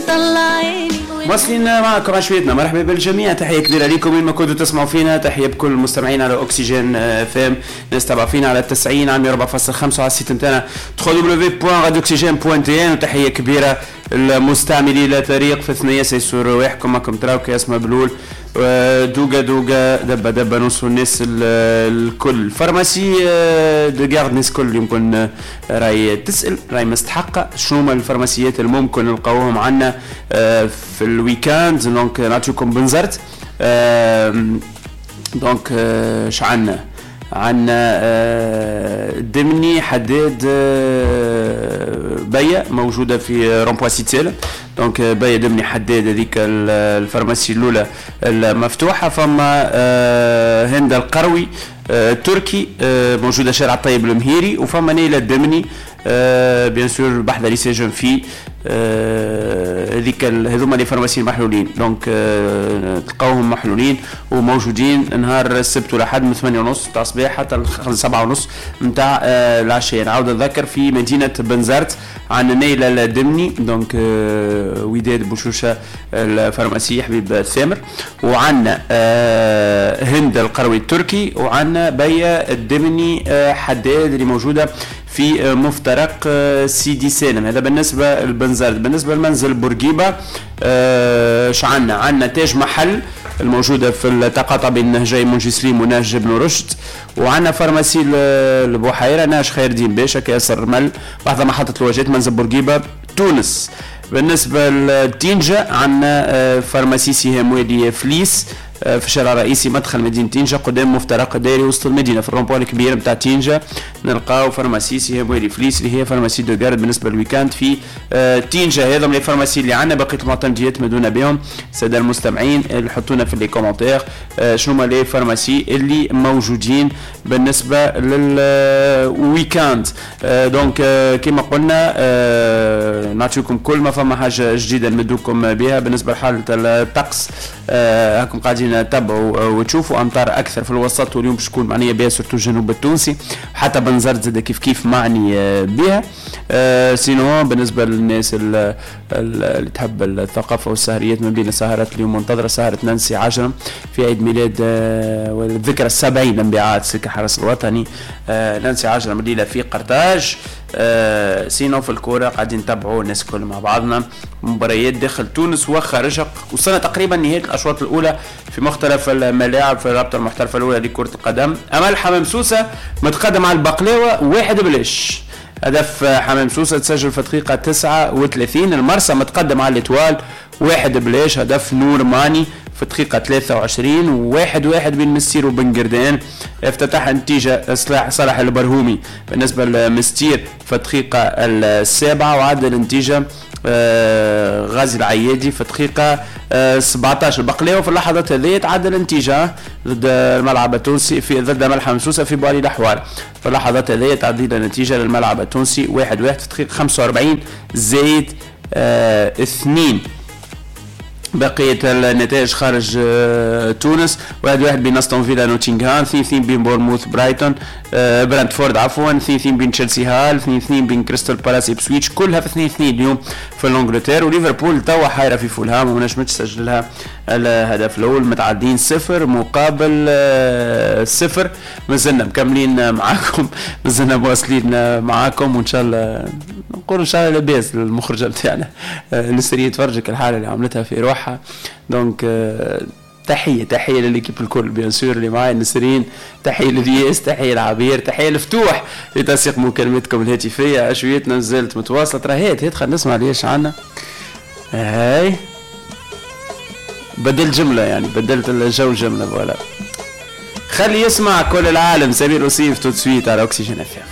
طلع عيني. واصلين معكم عشويتنا، مرحبا بالجميع، تحية كبيرة لكم وين ما كنتوا تسمعوا فينا، تحية بكل المستمعين على اكسجين FM، ناس تبع فينا على 90 على 104.5 وعلى ال site نتاعنا www.radioxygène.tn، وتحية كبيرة المستعملي لا طريق في ثنية سيسور رواحكم، معكم تراو كي اسمها بلول دوغا دوغا دبا دبا نوصلوا الناس الكل. pharmacie de garde الناس الكل يمكن راهي تسال، راهي مستحقه شنو هما الفارماسيات اللي ممكن نلقاوهم عندنا في ال week-end. donc نعطيكم بنزرت، donc اش عندنا؟ عندنا دمني حداد بيا موجودة في rond-point سيدي سالم، donc بيا دمني حداد هذيك ال pharmacie الاولى المفتوحه. فما هند القروي التركي موجودة شارع الطيب المهيري، وفما نيلة الدمني bien sûr بحذا lycée jeunes filles. هذيك هذوما les pharmacies المحلولين، donc تلقاوهم محلولين وموجودين نهار السبت والاحد من 8:30 تاع الصباح حتى 7:30 نتاع العشية. نعاود نذكر في مدينة بنزرت عندنا نيلة الدمني، donc وداد بوشوشة ال pharmacie حبيب الثامر، وعندنا هند القروي التركي، وعندنا بيا الدمني حداد اللي موجودة في مفترق سيدي سالم. هذا بالنسبة لبنزرت. بالنسبة لمنزل بورقيبة اش عندنا؟ عندنا تاج محل الموجودة في التقاطع بين نهجي منجي سليم ونهج ابن رشد، وعندنا pharmacie البحيرة نهج خير الدين باشا كياس الرمل بحذا محطة الواجهات منزل بورقيبة تونس. بالنسبة لتينجا عندنا pharmacie سهام وادي فليس في الشارع الرئيسي مدخل مدينة تينجا قدام مفترق دائري وسط المدينة في ال rond-point الكبير نتاع تينجا نلقاو pharmacie سهام وادي فليس اللي هي pharmacie de garde بالنسبة لل week-end في تينجا. هذا من les pharmacies اللي عندنا، بقية المعتمديات مدونا بهم السادة المستمعين اللي حطونا في les commentaires شنو هما les pharmacies اللي موجودين بالنسبة لل week-end. donc كما قلنا نعطيكم كل ما فما حاجة جديدة نمدوكم بها. بالنسبة لحالة الطقس هاكم قاعدين تتبعوا وتشوفوا امطار اكثر في الوسط، واليوم باش تكون معنية بها surtout الجنوب التونسي، حتى بنزرت زاد كيف كيف معني بها. sinon بالنسبة للناس اللي تحب الثقافة والسهريات، ما بين السهرات اليوم منتظره سهره نانسي عجرم في عيد ميلاد والذكرى 70 لانبعاث سلك الحرس الوطني نانسي عجرم الليلة في قرطاج. sinon في الكورة قاعدين نتبعوا الناس الكل مع بعضنا مباريات داخل تونس وخارجها، وصلنا تقريبا نهاية الاشواط الاولى في مختلف الملاعب في الرابطة المحترفه الاولى لكرة القدم. امل حمام سوسة متقدم على البقلاوه 1-0، هدف حمام سوسة تسجل في دقيقة 39. المرسى متقدم على l'Étoile 1-0، هدف نور ماني في دقيقة 23. 1-1 بين مستير وبن قردان، افتتح النتيجة صلاح البرهومي بالنسبة لمستير في الدقيقة 7، وعدل النتيجة غازي العيادي في دقيقة 17. البقلاوة في اللحظات هذه تعدل النتيجة ضد الملعب التونسي في ضد ملحم سوسة في بوالي الأحوال، في اللحظات هذه تعديل النتيجة للملعب التونسي 1-1 في دقيقة 45 زائد 2. بقية النتائج خارج تونس 1-1 بين استون فيلا نوتنغهام، 2-2 بين بورموث برايتون برانتفورد عفوا، 2-2 بين تشيلسي هال، 2-2 بين كريستال بالاس إبسويتش، كلها في 2-2 اليوم في الانجلترا. وليفربول توا حايرة في فولهام وما نجمتش تسجل لها الهدف الأول، متعادلين 0-0. مازلنا مكملين معاكم، مازلنا مواصلين معاكم، وإن شاء الله نقول إن شاء الله لاباس المخرجة بتاعنا نسرية تفرجك الحالة اللي عملتها في روحها. donc تحية لل équipe الكل bien sûr اللي معايا نسرين، تحية للياس، تحية لعبير، تحية لفتوح لتنسيق مكالمتكم الهاتفية. عشويتنا مازالت متواصلة، ترى هات هات خلينا نسمع ليش عنا. هاي بدلت جملة، يعني بدلت الجو جملة voilà. خلي يسمع كل العالم سمير وصيف tout de suite على أكسجين FM.